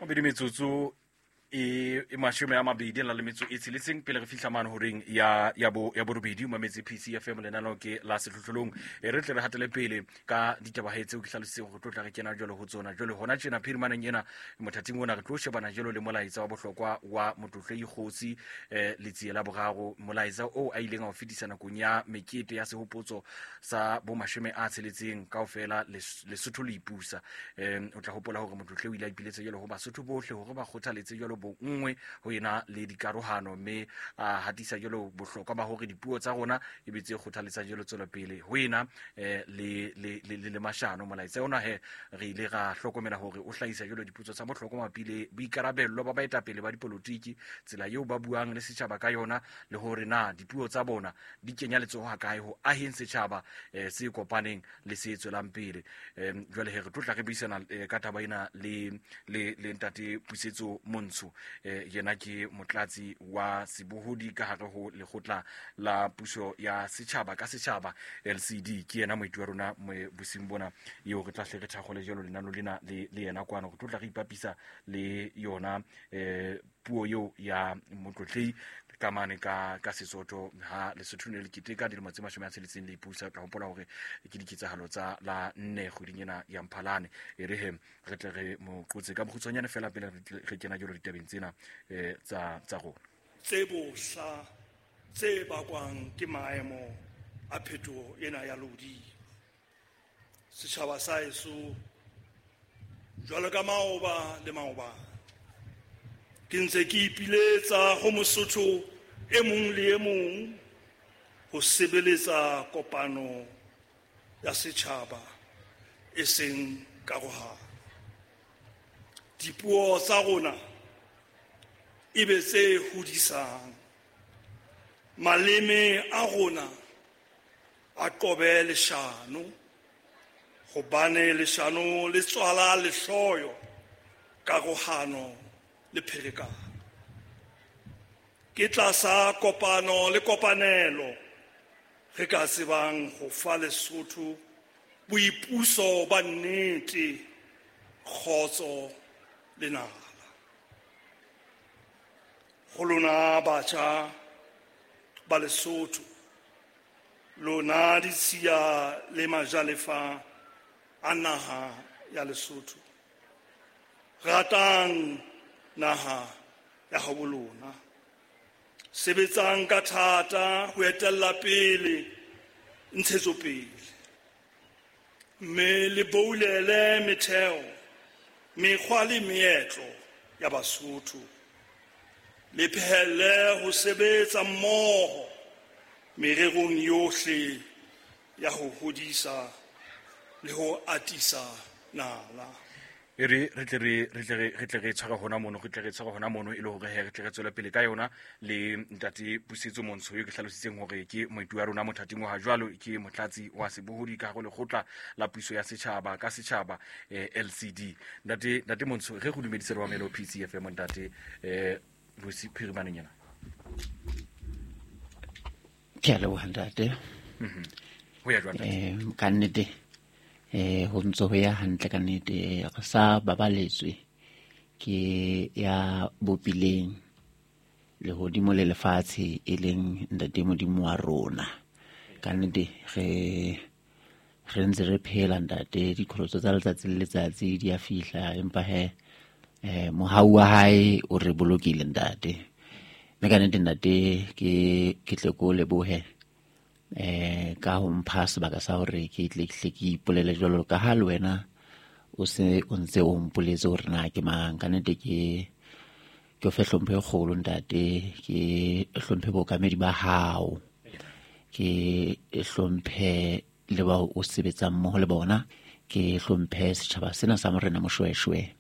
Mabedi metsotso e e 20 la le metso e tsheletseng pele re fihla mane horeng ya ya bo ya borobedi. O mametse PCFM, lenaneo ke la Sehlohlolong. E re tle re hatele pele ka ditaba he tseo ke hlalositseng gore tlo tla re kena jalo ho tsona jalo hona tjena phirimaneng ena. Mothating ona re tlo shebana jalo le molaetsa wa bohlokwa wa Motlotlei Kgosi Letsie la Boraro, molaetsa oo a ileng a o fetisa nakong ya mekete ya sehopotso sa bo 60 kaofela Lesotho le ipusa. O tla hopola hore motlotle o ile a ipiletse jalo ho Basotho bohle hore ba kgothaletse jalo bonngwe ho ena le dikarohano, mme a hatisa jalo bohlokwa ba hore dipuo tsa rona e be tse kgothaletsang jalo tswelopele ho ena le mashano. Molaetsa ona he re ile ra hlokomela hore o hlahisa jalo dipotso tsa bohlokwa mabapi le boikarabello ba baetapele ba dipolotiki, tsela eo ba buang le setjhaba ka yona, le hore na dipuo tsa bona di kenya letsoho ha kae ho aheng setjhaba se kopaneng le se tswelang pele. Jwale he re tlo tla re buisana ka taba ena le ntate Pusetso Montsho. Yena ke motlatsi wa sebohodi ka hare ho lekgotla la puso ya setjhaba ka setjhaba, LCD. Ke yena moeti wa rona bosing bona eo re tla hle re thakgole jalo lenano lena le yena kwano. Re tlo tla re ipapisa le yona puo eo ya motlotlei ka mane ka Sesotho ha Lesotho ne le keteka dilemo tse 60 le ipusa. Tla hopola hore ke diketsahalo tsa la 4 kgweding ena ya Mphalane. E re he re tle re mo qotse ka bokgutshwanyane fela pele re kena jalo ditabeng tsena tsa rona. Tse bohla tse bakwang ke maemo a phetoho ena ya lehodimo. Setjhaba sa heso, jwalo ka maoba le maobane, ke ntse ke ipiletsa ho Mosotho e mong le e mong ho sebeletsa kopano ya setjhaba e seng karohano. Dipuo tsa rona e be tse hodisang, maleme a rona a qobe leshano, hobane leshano le tswala lehloyo, karohano le pherekano. Ke tlasa kopano le kopanelo re ka tsebang ho fa Lesotho boipuso ba nnete, kgotso le nala. Ho lona batjha ba Lesotho, lona ditshiya le majalefa a naha ya Lesotho, ratang naha ya habo lona, sebetsang ka thata ho etella pele ntshetsopele, mme le boulele metheo, mekgwa le meetlo ya Basotho, le phehelle ho sebetsa mmoho mererong yohle ya ho hodisa le ho atisa nala. E re re tle re re tle re re tle re tshware hona mono, re tle re tshware hona mono e le hore he re tle re tswele pele ka yona le ntate Pusetso Montsho eo ke hlalositseng hore ke moeti wa rona mothating wa ha jwalo, ke motlatsi wa sebohodi ka hare ho lekgotla la puso ya setjhaba ka setjhaba, LCD. Ntate Montsho, re go dumedise re wa melo PCFM ntate bosi phirimaneng ena. Ke a leboha ntate. Ho ya jwang ntate? Ka nnete ho ntse ho ya hantle ka nnete, re sa babaletswe ke ya bopileng lehodimo le lefatshe, e leng ntate Modimo wa rona. Ka nnete re ntse re phela ntate, diqholotso tsa letsatsi le letsatsi di a fihla, empa he mohau wa hae o re bolokile ntate. Mme ka nnete ntate ke tle ko lebohe ka ho mpha sebaka sa hore ke tle ke hle ke ipolele jwalo ka ha le wena o se o ntse o mpoletse hore na ke mang. Ka nnete ke o fe hlompho e kgolo ntate, ke hlomphe bookamedi ba hao, ke hlomphe le bao o sebetsang mmoho le bona, ke hlomphe setjhaba sena sa Morena Moshoeshoe.